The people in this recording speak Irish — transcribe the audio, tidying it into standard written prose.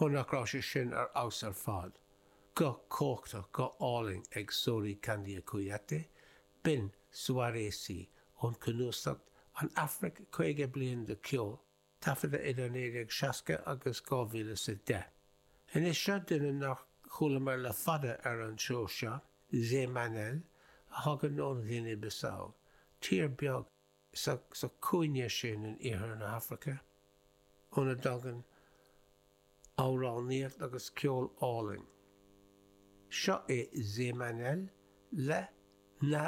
Ó nach raibh sé sin ar fheabhas ar fad. Guth cumhachtach, guth álainn ag Sory Kandia Kouyaté, b'in Souaré Sy ón cnuasach An Afraic 50 Bliain de Cheol, taifeadta idir 1960 agus 2010. Anois seo duine nár chualamar le fada ar an seó seo, Zé Manel, a thagann ón Ghuine Bissau, tír beag sa sa chúinne sin in iarthar na hAfraice, óna dtagann amhránaíocht agus ceol álainn. Seo é Zé Manel le Na.